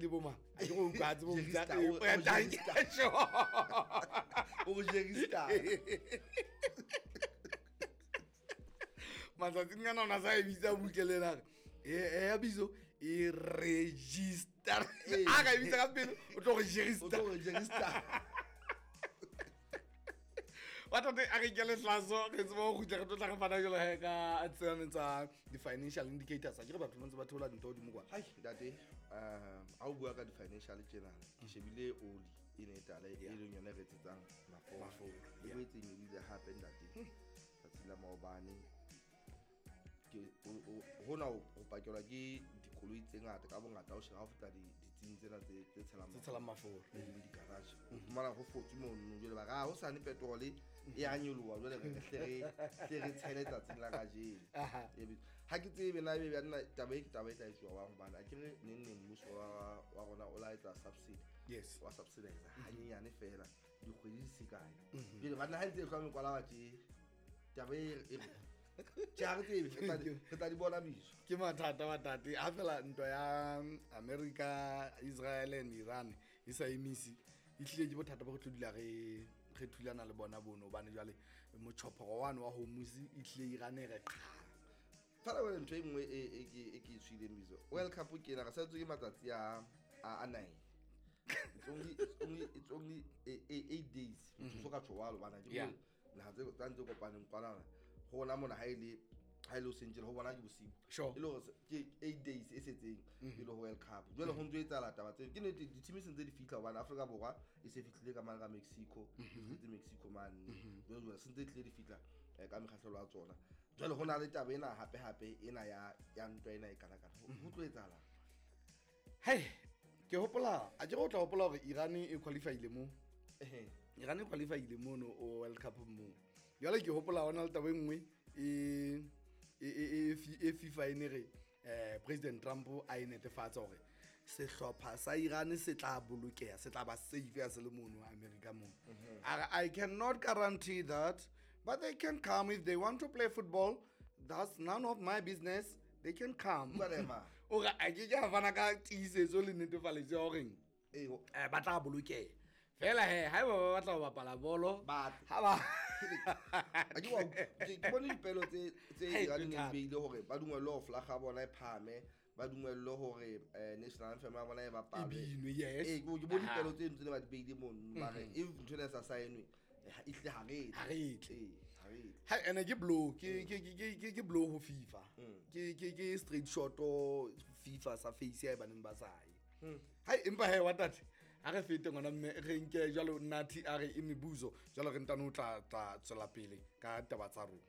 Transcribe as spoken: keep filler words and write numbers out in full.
bo mang a ke go utlwa a tsebo Jerista, o- o Jerista. O Jerista. Matsatsing ana o na sa e bitsa butle le ena a re, e e ya bizo e register. Ee. A ka e bitsa ka pele o tlo go register. O tlo go register. Wa tate a re nkele hlaso re tsebe ho kgutla re tlo tla re fana jwalo he ka tsena tsa di-financial indicators. A ke re batho ba ntse ba theola dintho hodimo kwa. Hai ntate, um ha o bua ka di-financial tjena, ke shebile oli e ne e tala e leng yona e re etsetsang mafura. Mafura, E yeah. boetse e nyolohile hape ntate. Tsatsi la maobane ke o- o- hona ho ho pakelwa ke dikoloi tse ngata ka bongata o sheba ha o feta di- ditsing tsena tse tse tshelang Tse tshelang mafura. e leng di-garage. O fumana ho fotswe mono jwale ba re, ah, hosane petrol e a nyoloha jwale re hle re hle re tshele tsatsing la kajeno. Aha. E be- ha ke tsebe na ebe banna taba e ke taba e tla etsuwa jwang hobane a ke re neng neng mmuso wa wa rona o la etsa subsidy. Yes. Wa subsidize hanyenyane feela dikgwedi di se kae. Jwale banna ha ntse e hlwa mekwalaba tje, taba e e tje ha re tsebe, re tla di- re tla di bona biso. Ke mathata wa tate ha fela ntwa ya America, Israel and Iran e sa emise, e hlile ke bothata ba go tlo dula re re thulana le bona bono hobane jwale motjhophoro wane wa Hormuz e hlile Iran e re qha. Fela wena ntho e nngwe e, e ke e ke e tshwileng biso. World Cup ke ena, re salletswe ke matsatsi a, a, a nine. It's only, it's only, it's only eight, eight days. Motho so ka tjho jwalo hobane ha ke Yeah. bone naha tse tsa ntse kopaneng kwanana. Ho rona mona ha e le, ha e le hoseng tjena, ho bona ke bosiu. Sure. E le hore se-, ke eight days e setseng pele ho World Cup. Jwale ho ntso etsahala taba tseo. Ke nnete, di-team se ntse di fihla hobane Afrika Borwa e se fihlile ka mane ka Mexico, e fihletse Mexico mane. Jwale jwale se ntse di tlile di fihla, eh, ka mekgahlelo ya tsona. Jwale ho na le taba ena hape hape ena ya, ya ntwa ena e kanakana. Ho, ho tlo etsahalang? Hei, ke hopola, a ke re o tla hopola hore Iran e qualify-ile moo. Ehe. Iran e qualify-ile mono o World Cup moo. Jwale ke hopola hona le taba e nngwe e, e, e, e, e FIFA e ne re, eh, President Trump a e netefatsa hore sehlopha sa Iran se tla bolokeha, se tla ba safe ya se le mono America moo. Mhm. A re, I cannot guarantee that, but they can come if they want to play football. That's none of my business. They can come. Bua le ema. O re, a ke ke a fana ka tiisetso le netefaletso ya horeng, Ee, ho- eh, ba tla bolokeha. Fela he, haeba ba batla ho bapala bolo, Ba ha ba A ke wa ke, ke bone dipelo tse, tse Hey, Iran e neng thata. beile hore ba dumellwe ho flag ya bona e phahame, ba dumellwe hore, eh, national anthem ya bona e bapalwe. E binwe, yes. Ee, ke bo-, ke bone Aha. dipelo tse ntse ne ba di beile mono, ba re, Mhm. if ntho ena e sa sign-we, eh, ha, ehlile ha re tle. Ha re tle. Ee, ha re tle. Ha, ene ke blow, ke, ke, ke, ke, ke, ke blow ho FIFA. Mm. Ke, ke, ke straight shot o FIFA sa face ya e baneng ba sa ye. Mm. Hai, empa he, wa tate, ha re fete ngwana mme, re nke jwalo Nathi a re e mebuso, jwalo re ntano tla, tla tswela pele ka taba tsa rona.